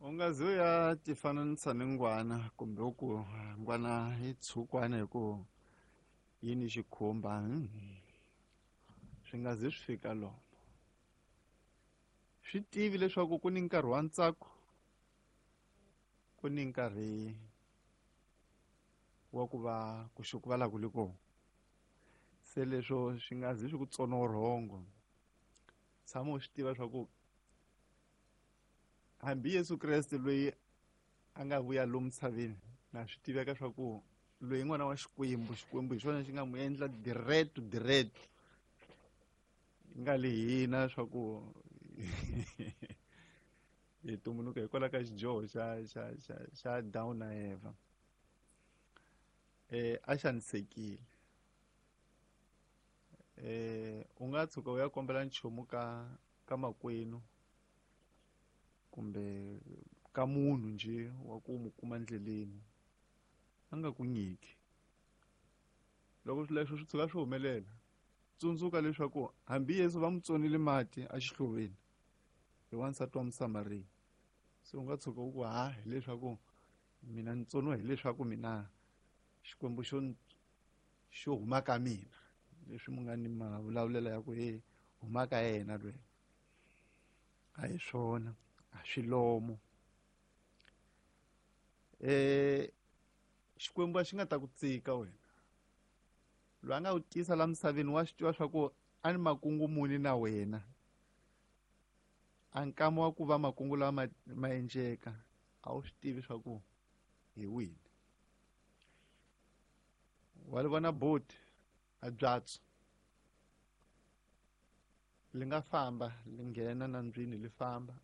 U nga zi u ya tifananisa ni ngwana kumbe u ku ngwana yi tshukwana hi ku yi ni xikhumba swi nga zi swi fika lomo. Swi tivi leswaku ku ni nkarhi wa ntsako ku ni nkarhi wa ku va ku xukuvala ku li kona. Se leswo swi nga zi swi ku tsona vurhongo tshama u swi tiva swa ku hambi Yesu Kreste loyi a nga vuya lomu misaveni na swi tiveka swa ku loyi n'wana wa Xikwembu Xikwembu hi xona xi nga n'wi endla direct direct nga li hina swa ku hi tumbuluka hikwalaho ka xidyoho xa xa xa xa Adamu na Eva a xanisekile u nga tshuka u ya kombela nchumu ka ka makwenu kumbe ka munhu nje wa ku mu kuma ndleleni a nga ku nyiki loko swilo leswo swi tshuka swi humelela tsundzuka leswaku hambi Yesu va mu tsonile mati exihloveni hi wansati wa Musamariya se u nga tshuka u ku ha hileswaku mina ni tsoniwa hileswaku mina Xikwembu xo xo huma ka mina leswi mu nga ni mavulavulelo ya ku he huma ka yena lweyi a hi swona a swi lomo Xikwembu a xi nga ta ku tsika wena loyi a nga ku tisa la misaveni wa swi tiva swa ku a ni makungu muni na wena a nkama wa ku va makungu lawa ma endleka a wu swi tivi swa ku hi wini wa li vona boti a byatso li nga famba li nghena nandzwini li famba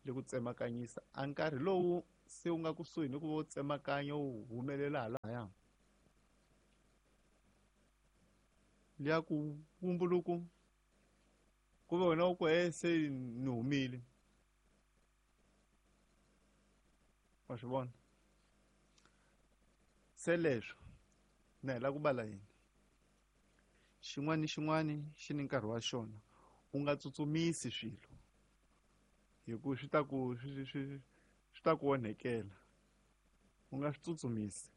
li ku tsemakanyisa a nkarhi lowu se wu nga kusuhi ni ku va u tsemakanya wu humelela halahaya liya ku vumbuluku ku ve wena u ku e se ni humile wa swi vona se leswo na hi la ku bala yini xin'wana ni xin'wana xi ni nkarhi wa xona u nga tsutsumisi swilo hi ku swi ta ku swi swi swi ta ku onhekela u nga swi tsutsumisi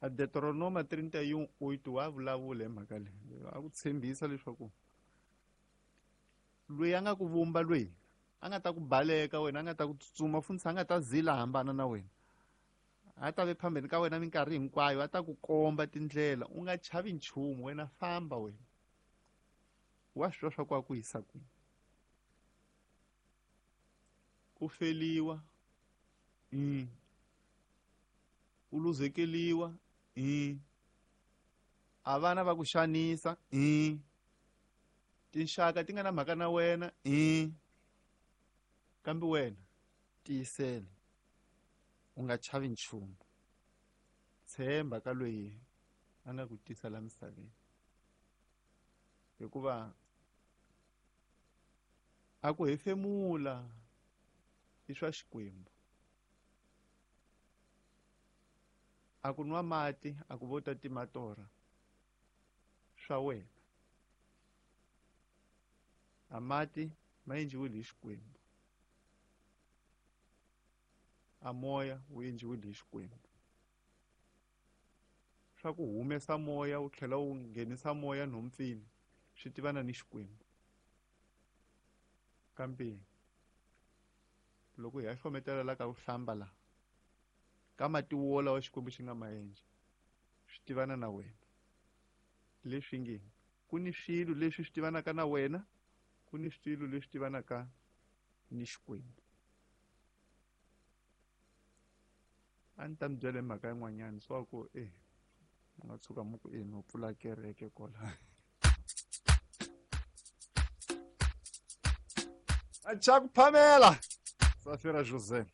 a Deuteronoma 31:8 wa vulavula hi mhaka leyi a ku tshembisa leswaku loyi a nga ku vumba loyi a nga ta ku baleka wena a nga ta ku tsutsuma funtshi a nga ta zila hambana na wena a ta ve phambeni ka wena minkarhi hinkwayo a ta ku komba tindlela u nga chavi nchumu wena famba wena wa swi twa swa ku a ku yisa kwini u feliwa u luzekeliwa a vana va ku xanisa tinxaka ti nga na mhaka na wena kambe wena tiyisela u nga chavi nchumu tshemba ka loyi a nga ku tisa la misaveni hikuva a ku hefemula i swa Xikwembu a ku nwa mati a ku vo ta tima torha swa wena a mati ma endliwile hi Xikwembu a moya wu endliwile hi Xikwembu swa ku humesa moya wu tlhela wu nghenisa moya nhompfini swi tivana ni Xikwembu kambe loko hi ya hlometela la ka ku hlamba la ka mati wo lawa Xikwembu xi nga ma endla swi tivana na wena leswi nge ku ni swilo leswi swi tivanaka na wena ku ni swilo leswi tivanaka ni Xikwembu a ni ta mi byela hi mhaka yin'wanyana swa ku e mi nga tshuka mi ku e no pfula kereke kwala a cha ku phamela Safira José.